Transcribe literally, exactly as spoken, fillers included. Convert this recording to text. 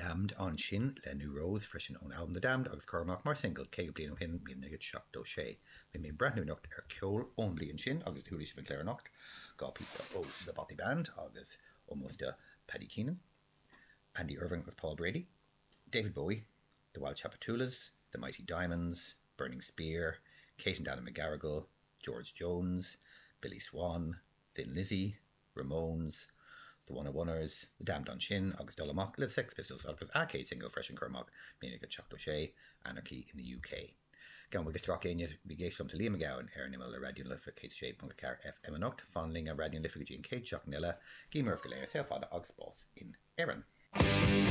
Damned ansin le New Rose freisin ón albam The Damned agus curtha amach mar single caoga bliain ó shin míle naoi gcéad seachtó sé. Beidh mé ag breathnú anocht ar ceol ón bhliain sin agus chuala sibh an clár anocht dhá píosa ó The Bothy Band agus ómós do Paddy Keenan, Andy Irvine agus Paul Brady, David Bowie, The Wild Tchoupitoulas, The Mighty Diamonds, Burning Spear, Kate and Daniel McGarrigle, George Jones, Billy Swan, Thin Lizzy, Ramones, The One oh Oneers, The Damned ansin agus dul amach le Sex Pistols agus a céad single freisin curtha amach míle naoi gcéad seachtó sé Anarchy in the UK. Gabhaim buíochas do gach éinne a bhí ag éisteacht liomsa Liam Mac Gabhann ar an imeall le Raidió na Life céad sé ponc a ceathair FM anocht, fan linn ar Raidió na Life go dtí an chéad seachtain eile, guím oraibh go léir saol fada agus spás in Éirinn.